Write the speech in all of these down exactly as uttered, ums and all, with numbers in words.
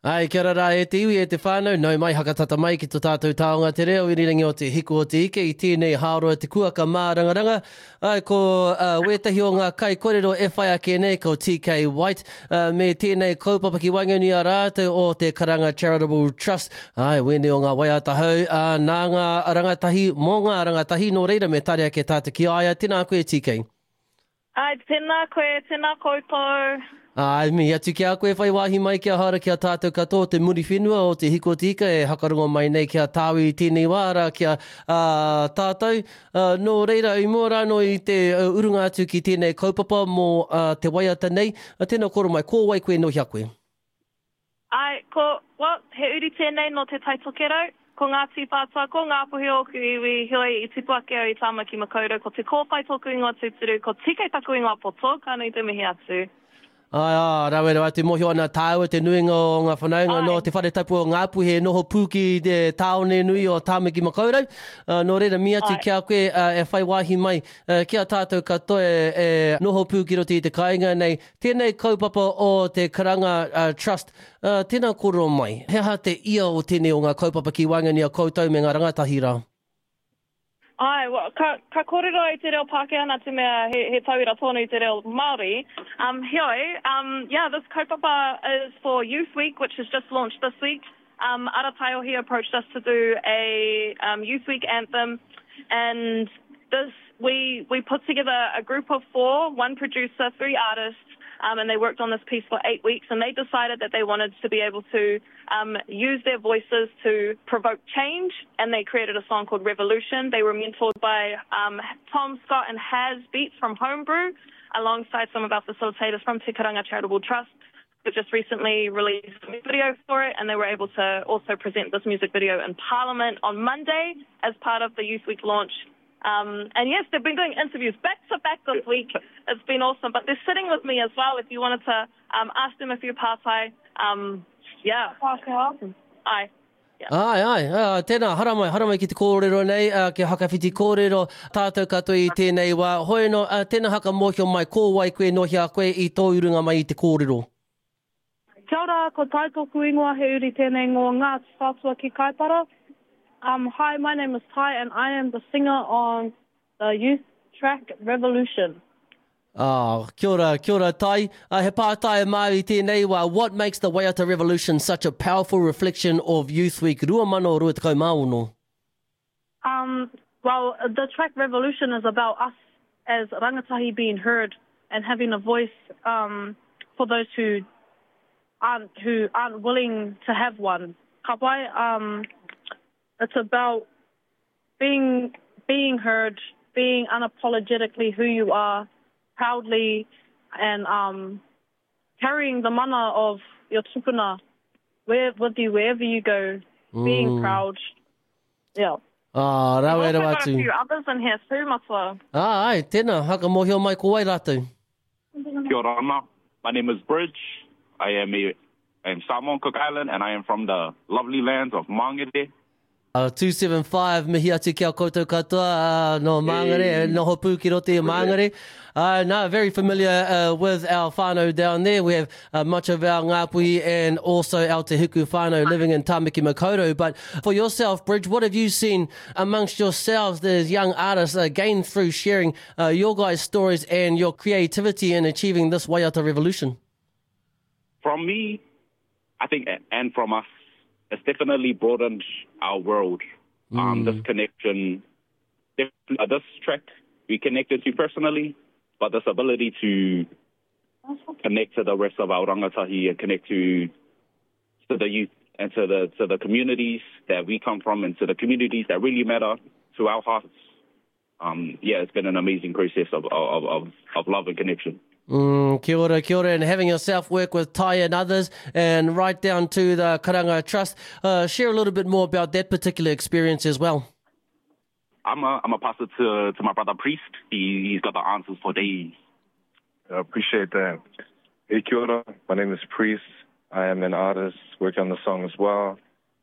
Ai, kia ora rā e te iwi, e te whānau, nau mai hakatata mai ki tō tātou taonga te reo irirangi o te hiku o te ike i tēnei hāroa te kuaka mārangaranga. Ai, ko uh, wētahi o ngā kai korero e whai ake nei, ko T K White, uh, me tēnei kaupapa ki waenganui a rātou o te Karanga Charitable Trust. Ai, wēnei o ngā waiata hou, uh, nā ngā rangatahi, mō ngā rangatahi, nō reira me tare ake tātou ki aia. Tēnā koe, T K. Ai, tēnā koe, tēnā koutou. Ai, mihi atu ki a koe whai wāhi mai kia hara ki a tātou katoa te Muriwhenua o te Hikotika e hakarongo mai nei ki a tāui i tēnei wā rā ki a uh, tātou. Uh, nō reira, i mua rāno i te uh, urunga atu ki tēnei kaupapa mō uh, te waiata nei. Uh, tēnā koro mai, ko wai koe no hea koe? Ai, ko, well, he uri tēnei no te Tai Tokerau, ko Ngāti Whātua, ko Ngāpuhi ōku iwi, heoi i tipu ake au i Tāmaki Makaurau, ko Te Kōwhai tōku ingoa tūturu, ko T K taku ingoa poto, ka nui te mihi atu. Ai, ā, rawe rawa te mohio ana tāua te nuinga o ngā whanaunga no te whare tapu o Ngāpuhi e noho pū ki te tāone nui o Tāmaki Makaurau. Uh, nō reira, mihi atu ki a koe uh, e whai wāhi mai uh, ki a tātou katoa e, e noho pū ki roto i te kāinga nei. Tēnei kaupapa o te Karanga uh, Trust, uh, tēnā kōrero mai. He aha te ia o tēnei o ngā kaupapa ki waenganui a koutou me ngā rangatahi rā? Ai, well, ka, ka kōrero i te reo Pākehā nā te mea he, he tauira tōnu i te reo Māori. Um, heoi, um, yeah, this kaupapa is for Youth Week, which has just launched this week. Um, Ara Taiohi approached us to do a um, Youth Week anthem, and this we we put together a group of four, one producer, three artists, um, and they worked on this piece for eight weeks. And they decided that they wanted to be able to um, use their voices to provoke change, and they created a song called Revolution. They were mentored by um, Tom Scott and Haz Beats from Homebrew, alongside some of our facilitators from Te Karanga Charitable Trust. We've just recently released a video for it, and they were able to also present this music video in Parliament on Monday as part of the Youth Week launch. Um, and yes, they've been doing interviews back to back this week. It's been awesome. But they're sitting with me as well. If you wanted to um, ask them a few pātai, um, yeah. Ai. Yeah. Ai, ai, uh, tēnā, haramai, haramai ki te kōrero nei, uh, ki hakawhiti kōrero, tātou katoa i tēnei wā. Hoi no, uh, tēnā haka mōhio mai, ko wai koe no hea koe i tō urunga mai i te kōrero. Kia ora, ko Tai tōku ingoa he uri tēnei ngō Ngāti Whātua ki Kaipara. Um, hi, my name is Tai and I am the singer on the youth track Revolution. Oh, kia ora, kia ora Tai. Uh, he pātai māu i tēnei wā, what makes the Waiata Revolution such a powerful reflection of Youth Week rua mano rua tekau mā ono? Um, well, the track Revolution is about us as rangatahi being heard and having a voice um, for those who aren't who aren't willing to have one. Ka pai, um, it's about being being heard, being unapologetically who you are, proudly, and um, carrying the mana of your tupuna where, with you wherever you go, being mm. proud. Yeah. Ah, rawe We've also rawa got a atu. Few others in here too, Matua. Ah, ai, tēnā, haka mōhio mai ko wai rātou. Kia ora. My name is Bridge. I am a I am Samoan Cook Island and I am from the lovely lands of Mangere. Uh, two seven five mihi atu ki a koutou katoa uh, no Māngere, hey. Noho pū ki roto i Māngere. Uh, no, very familiar uh, with our whānau down there. We have uh, much of our Ngāpuhi and also our Te Hiku whānau living in Tāmaki Makaurau. But for yourself, Bridge, what have you seen amongst yourselves as young artists uh, gained through sharing uh, your guys' stories and your creativity in achieving this Waiata revolution? From me, I think, and from us, it's definitely broadened our world. Mm. Um, this connection, uh, this track, we connected to personally, but this ability to connect to the rest of our rangatahi and connect to to the youth and to the to the communities that we come from and to the communities that really matter to our hearts. Um, yeah, it's been an amazing process of of, of, of love and connection. Mm, kia ora, kia ora, and having yourself work with Tai and others, and right down to the Karanga Trust. Uh, share a little bit more about that particular experience as well. I'm a, I'm a pastor to, to my brother Priest. He, he's got the answers for days. I appreciate that. Hey, kia ora. My name is Priest. I am an artist working on the song as well.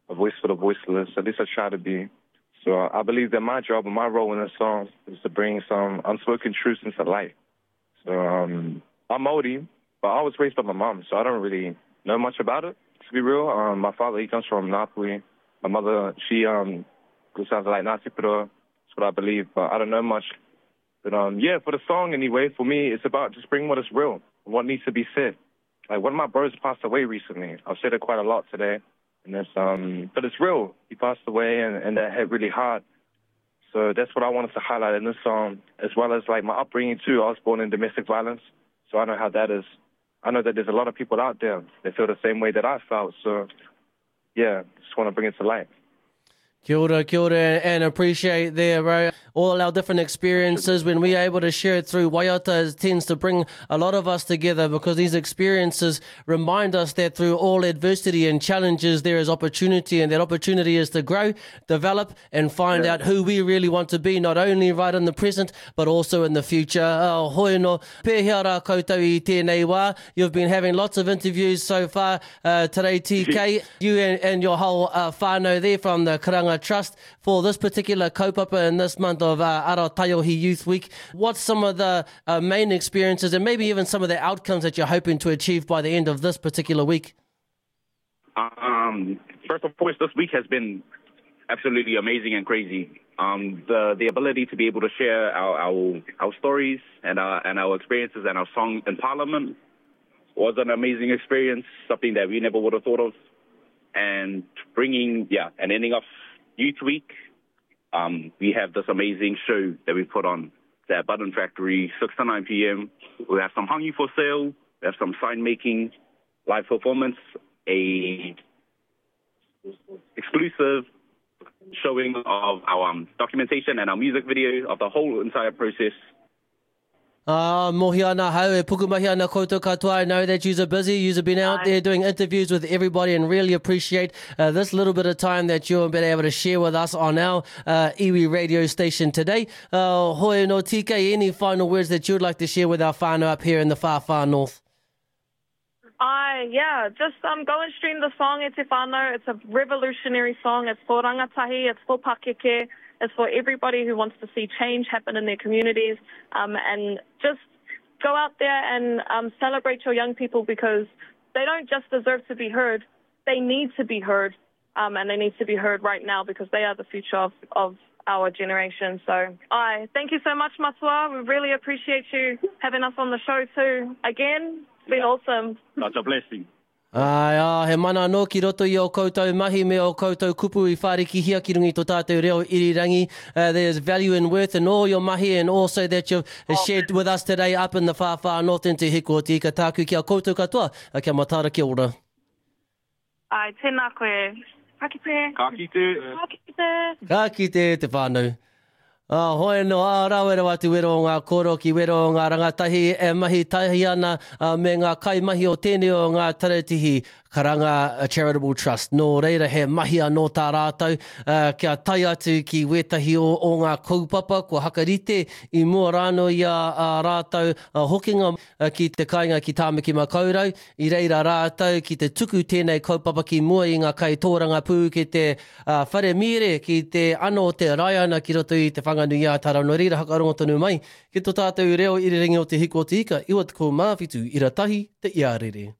A voice for the voiceless. At least I try to be. So I believe that my job and my role in the song is to bring some unspoken truths into light. So um, I'm Māori, but I was raised by my mom, so I don't really know much about it. to be real. Um, my father, he comes from Ngāpuhi. My mother, she um, sounds like Ngāti Porou. That's what I believe, but I don't know much. But um, yeah, for the song anyway, for me, it's about just bringing what is real, what needs to be said. Like one of my bros passed away recently. I've said it quite a lot today, and it's um, but it's real. He passed away, and, and that hit really hard. So that's what I wanted to highlight in this song, as well as like my upbringing too. I was born in domestic violence, so I know how that is. I know that there's a lot of people out there that feel the same way that I felt. So yeah, just want to bring it to light. Kia ora, kia ora, and appreciate there, bro. All our different experiences, when we are able to share it through waiata, it tends to bring a lot of us together, because these experiences remind us that through all adversity and challenges, there is opportunity, and that opportunity is to grow, develop, and find yeah. out who we really want to be, not only right in the present, but also in the future. Uh, hoi no, pēhea rā koutou i tēnei wā. You've been having lots of interviews so far uh, today, T K. You and, and your whole uh, whānau there from the Karanga Trust for this particular kaupapa in this month of uh, Ara Taiohi Youth Week. What's some of the uh, main experiences and maybe even some of the outcomes that you're hoping to achieve by the end of this particular week? Um, first of all, this week has been absolutely amazing and crazy. Um, the, the ability to be able to share our, our, our stories and our, and our experiences and our song in Parliament was an amazing experience, something that we never would have thought of. And bringing, yeah, and ending off Youth Week, um, we have this amazing show that we put on at Button Factory, six to nine p.m. We have some hangi for sale, we have some sign making, live performance, a exclusive showing of our um, documentation and our music video of the whole entire process. Ah, uh, mohi ana hau, e pukumahi ana koutou katoa. I know that yous are busy. Yous have been out there doing interviews with everybody, and really appreciate uh, this little bit of time that you've been able to share with us on our uh, iwi radio station today. Uh, hoi no T K, any final words that you'd like to share with our whānau up here in the far, far north? I, yeah, just um, go and stream the song, E Te Whānau. It's a revolutionary song. It's for rangatahi, it's for pakeke. It's for everybody who wants to see change happen in their communities, um, and just go out there and um, celebrate your young people, because they don't just deserve to be heard, they need to be heard, um, and they need to be heard right now, because they are the future of, of our generation. So I thank you so much, Matua. We really appreciate you having us on the show too. Again, it's been yeah. awesome. That's a blessing. Ai, ah, he mana anō ki roto i o koutou mahi me o koutou kupu i wharikihia ki runga i tō tātou reo irirangi. Uh, there's value and worth in all your mahi, and also that you've shared with us today up in the far, far north in Te Hiku o Te Ika Tāku. Kia koutou katoa, kia matara, kia ora. Ai, tēnā koe. Ka kite. Ka kite. Ka kite. Ka kite te whānau. Ah, hoi no, a rawera watu wero o ngā koro ki wero o ngā rangatahi e mahi tahi ana uh, me ngā kaimahi o tēnei o ngā taratihi Karanga Charitable Trust. Nō reira he mahi anō tā rātou uh, kia tai atu ki wētahi o, o ngā kaupapa kua hakarite i mua rāno i a, a rātou a hokinga uh, ki te kāinga ki Tāmaki Makaurau. I reira rātou ki te tuku tēnei kaupapa ki mua i ngā kaitōranga pū ki te uh, whare mire, ki te ano te raiana ki roto i te Whanganui a Tara. Nō reira hakarongo tonu mai ki tō tātou reo irirangi o Te Hiku o Te Ika, iwa tekau mā whitu, ira tahi, te iarere.